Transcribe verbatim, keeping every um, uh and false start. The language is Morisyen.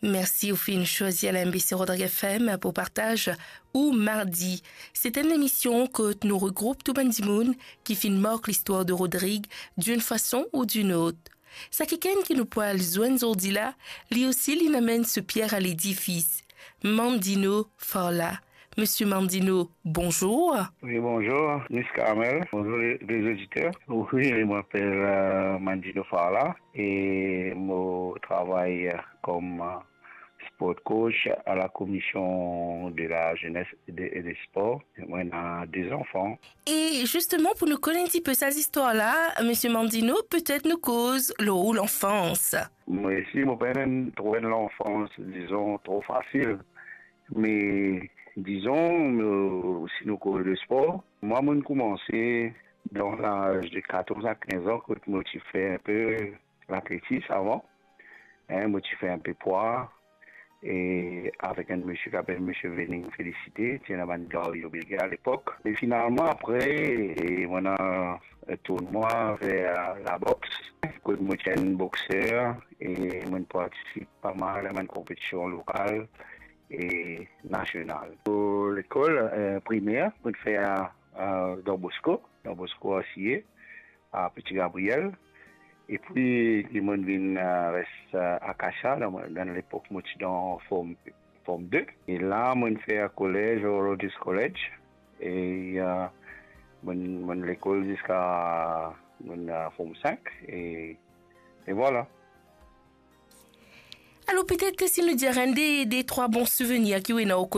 Mersi ou finn swazir L M B C Rodrig F M pou partaz ou mardi. Se enn emision kot nou regroup tou bann dimoun ki finn mark listwar de Rodrig d'une façon ou d'une autre. Sa kikenn ki nou pou al zwenn zordi la, li osi li amenn so pier a ledifis. Mandino Farla. Misie Mandino, bonzour. Oui, bonjour, Miss Carmel. Bonjour les, les auditeurs. Oui, je m'appelle euh, Mandino Farla et je travaille euh, comme euh, sport coach à la commission de la jeunesse et, de- et des sports. Moi, j'ai deux enfants. E zisteman, pou nou konn enn tipe sa zistwar la, misie Mandino, petet nou koz lor ou lanfans. Moi aussi, mon père aime trouver l'enfance, disons, trop facile. Mais disons, euh, si nous courons le sport, moi, moi, j'ai commencé dans l'âge de quatorze à quinze ans, quand moi, j'ai fait un peu l'athlétisme avant. Hein, moi, j'ai fait un peu poids. Et avec un monsieur qui s'appelle Monsieur Venning Félicité, qui est un garde à l'époque. Mais finalement, après, et on a un tournoi vers la boxe. Quand moi, j'ai un boxeur et moi, je participe pas mal à une compétition locale et national. Pou lekol euh, primer, mo fer euh, Don Bosco, Don Bosco Asiye, a Petit Gabriel. E pi, li mo vinn euh, res euh, Acacia, dan, dan lepok mo ti dan form, form de. E la, mo fer kolez, Rhodes College. E euh, mo, mo lekol ziska mo euh, form cinq. E, e vwala. Alor, petet si nou dir enn de, de trwa bon souvenir ki ou ena o